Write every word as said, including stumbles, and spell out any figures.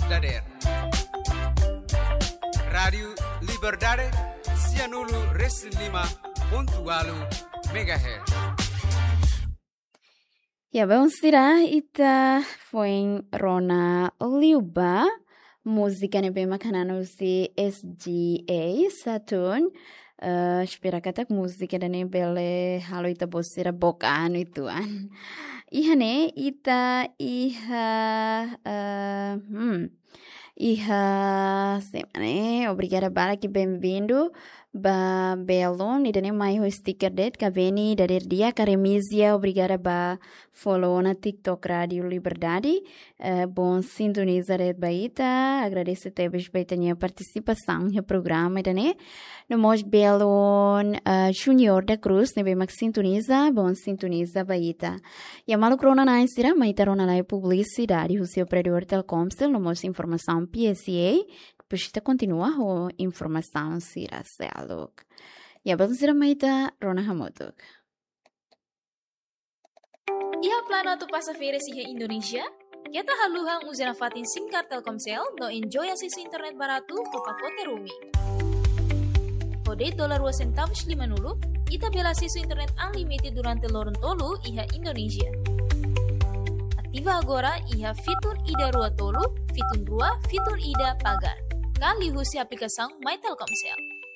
dadeer. Rádiu Liberdade, sianulu resin lima pontu ualu megahertz. Ya, belun sira, ita foin rona liu ba múzika ne'ebé mak hanan husi S G A Saturn. Eh, espera katak múzika ida-ne'e bele halo ita-boot sira book an uitoan. Iha ne'e ita iha, eh, hmm, iha semana ne'e, obrigada barak, benvindu ba belun, ida-ne'e mai ho sticker de'it, Kaveni dadeer di'ak, Aremisia, obrigada ba follow ona TikTok Rádiu Liberdade. Eh, bom sintoniza de'it ba ita, agradese tebes ba ita-nia partisipasaun iha programa ida-ne'e. No mós belun, eh, Junior da Cruz, ne'ebé mak sintoniza, bom sintoniza ba ita. Ya, maluk rona-na'in sira, mai ita rona lai publisidade husi operadór Telkomcel, no mós informasaun P S A, depois ita kontinua ho informasaun sira seluk. Ya, belun sira, mai ita rona hamutuk. Iha planu atu pasa férias iha Indonézia? Keta haluha uza nafatin SIM card Telkomcel no enjoy asesu internet baratu ho pakote roaming. Ho de'it dolar rua sentavus limanulu, ita bele asesu internet unlimited durante loron tolu iha Indonézia. Ativa agora iha fitun ida rua tolu, fitun rua, fitun ida pagar. Ka liuhusi aplikasaun My Telkomcel.